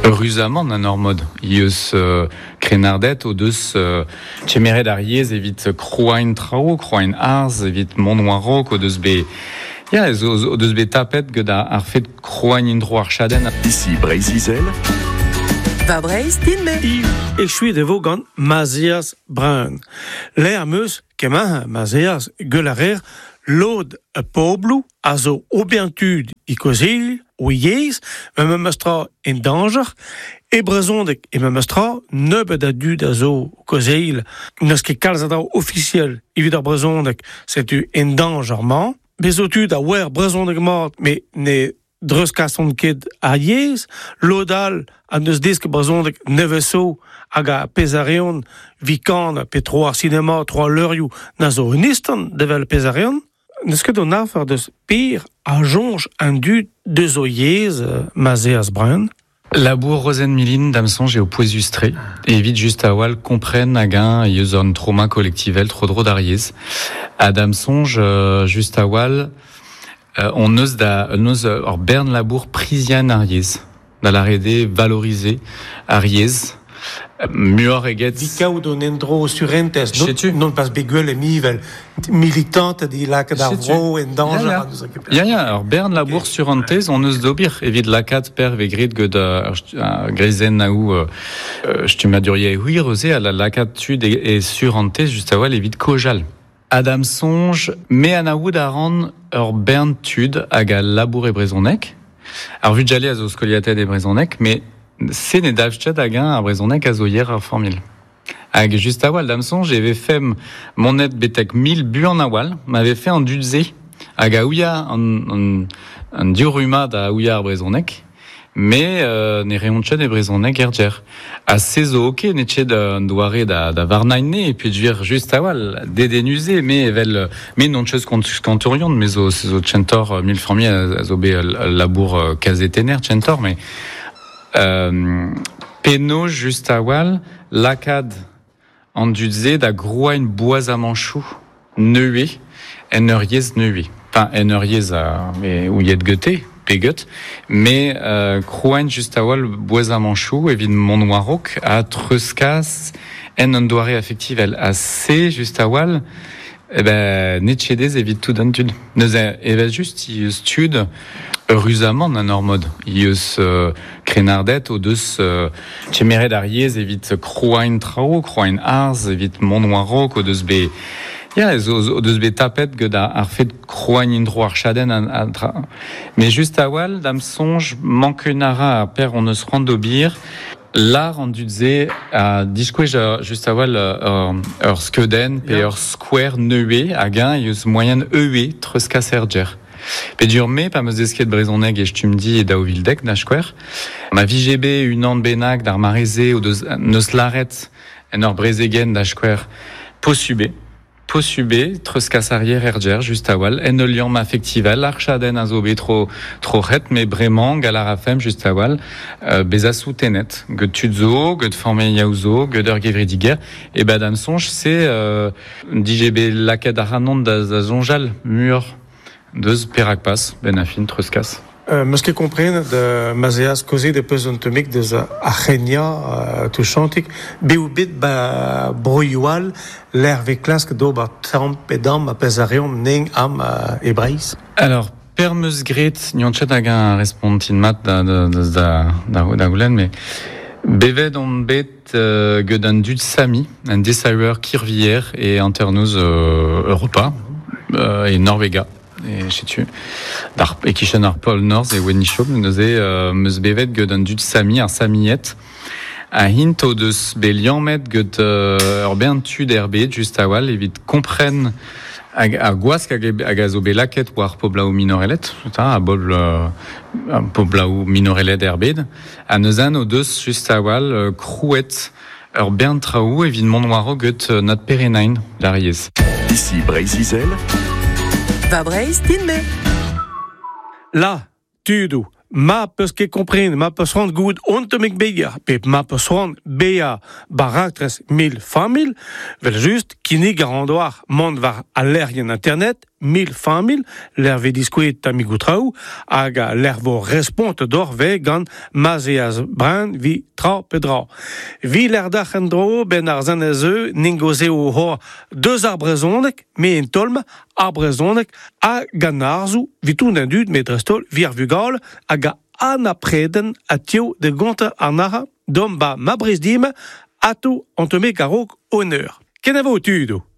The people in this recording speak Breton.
Eüruzamant en ur mod eus krennarded o deus kemeret ar yezh evit krouañ traoù, krouañ arz, evit mont war-raok o deus bet ya, o deus bet tapet gant ar fed krouañ en-dro ar chadenn. Ici Breizh-Izel. Va Breizh din-me. Echuet e vo gant Mazias Brun. Lec'h am eus kemmañ Mazias gwell a reer lod pobloù a zo ober tud e kozhilh o yezh, met memes tra en dañjer. E brezhoneg e memes tra, nebeut a dud a zo kozhilh. N'eus ket kalz a draoù ofisiel evit ar brezhoneg, setu en dañjer-mañ. Bez zo tud a oar brezhoneg mat, met ne dreuzkasont ket ar yezh. Lod all a neus desket brezhoneg nevez zo hag a pezh a reont 'vit kanañ pe tro ar sinema, tro al leurioù na zo un istant d'evel pezh a reont. N'eus ket an afer deus per a soñj an dud deus o yezh ma 'z eas Brun. Labour Rozenn Milin, da'm soñj, eo pouezus-tre evit just a-walc'h kompren hag-eñ eus an traoma kolektivel tro-dro d'ar yezh. Ha da'm soñj, just a-walc'h, on eus da on eus ur bern labour priziañ ar yezh, da lâret eo valoriser ar yezh muioc'h eget... Evit kaout un endro surentez, Setu. non pas bet gwell emivel militanted e lakaat ar vro en dañjer. Ya, ya, ur bern labour surentez on eus d'ober evit lakaat per vez graet gant ar greizennaoù stummaduriezh hir eus-se, ha lakaat tud e surentez just a-walc'h evit kojal. Ha da'm soñj, me anaout a ran ur bern tud hag a labour e brezhoneg. Ar vugale a zo skoliataet e brezhoneg, met se ne dalv ket hag-eñ ar brezhoneg a zo yer ar familh. Hag just a-walc'h da'm soñj e vefemp monet betek mil buan a-walc'h ma vefe an dud-se hag a ouia an, an, an div rummad a ouia ar brezhoneg. Mais ne reont ket e brezhoneg er gêr. Ha se zo ok, n'eo ket un doare da, da varnañ ne, et puis dire just a-walc'h, dedennus eo, me evel me n'on ket kantourion, me zo, zo tchentor mil familh a zo bet ul labour kazetenner tchentor, mais euh, penaos just a-walc'h lakaat an dud-se da grouañ boazamanchoù nevez en ur yezh nevez. Enfin, en ur yezh a ouiet gete, pe get, mais krouañ just a-walc'h boazamanchoù evit mont war-raok ha treuzkas en un doare afektivel. Ha se, just a-walc'h, eh ben, n'eo ket aes evit tout an tud. Neuze, evel-just, eus tud, eüruzamant en ur mod, eus krennarded o deus kemeret ar yezh evit krouañ traoù, krouañ arz, evit mont war-raok, o deus bet ya, o deus bet tapet gant ar fed krouañ en-dro ar chadenn ha tra. Mais just a-walc'h, da'm soñj, mank a ra ar per hon eus c'hoant d'ober, lar an dud-se a diskouez just a-walc'h ur skeudenn pe ur skouer nevez hag-eñ eus moaien eue treuzkas er gêr. Pedur me, pa 'm eus desket brezhoneg e Stumdi e 2010 da skouer, ma vije bet unan bennak d'ar mare-se o deus neus lâret en ur brezegenn da skouer posubl eo, posubl eo treuzkas ar yer er gêr just a-walc'h en ul liamm afektivel, ar chadenn a zo bet tro troc'het met bremañ gall a rafemp just a-walc'h bezañ soutenet gant tud zo, gant familhoù zo, gant ur gevredigezh. E ben da'm soñj se dije bet lakaet ac'hanon da soñjal muioc'h deus perak pas, benn ar fin treuzkas. Meus ket komprenet ma 'z eas kaozeet e peus un tammig deus ar C'henya touchantik. Bet bet ba broioù all lec'h vez klasket d'ober tamm pe damm ar pezh a reomp nen am e Breizh. Alors, per 'meus graet, n'on ket hag-eñ respontin mat da, da, da, da, da goulenn, mais bevet on bet gant an dud Sami, un desaver kirvier e hanternoz Europa, e Norvegia. E setu, d'ar, e-kichen ar pol norzh e oa neuze 'meus bevet gant an dud Sami, ar Samied. Ha int o deus bet liammet gant ur bern tud er bed just a-walc'h evit kompren hag ar gwask hag a zo bet lakaet war poblaoù minorelet, a bobl poblaoù minorelet er bed. Ha neuze o deus just a-walc'h krouet ur bern traoù evit mont war-raok gant Nat Perenain d'ar yezh. Ici Breizh-Izel. Va Breizh din-me. La, tudoù, ma peus ket kompren, ma peus c'hoant goût on tammig beger, pe ma peus c'hoant bezañ ba raktres mil familh, vel just kinnig a ran deoc'h mont war al lec'hienn internet. 1000 famil, l'er ve diskouet tamigou traoù, hag l'er vo respont d'or ve gant Mazeaz Brun vi tra pe dra. Vi l'er dac'h en dro ben ar zan ez eu ningoze o hor deus ar brezhoneg, me en tolm ar brezhoneg ha gant arzou vi tout an dud me drestol vi ar vugal hag a an apreden a tio de gonta ar nara dom ba ma brez dim ato antome garok honneur. Kenavo tudo.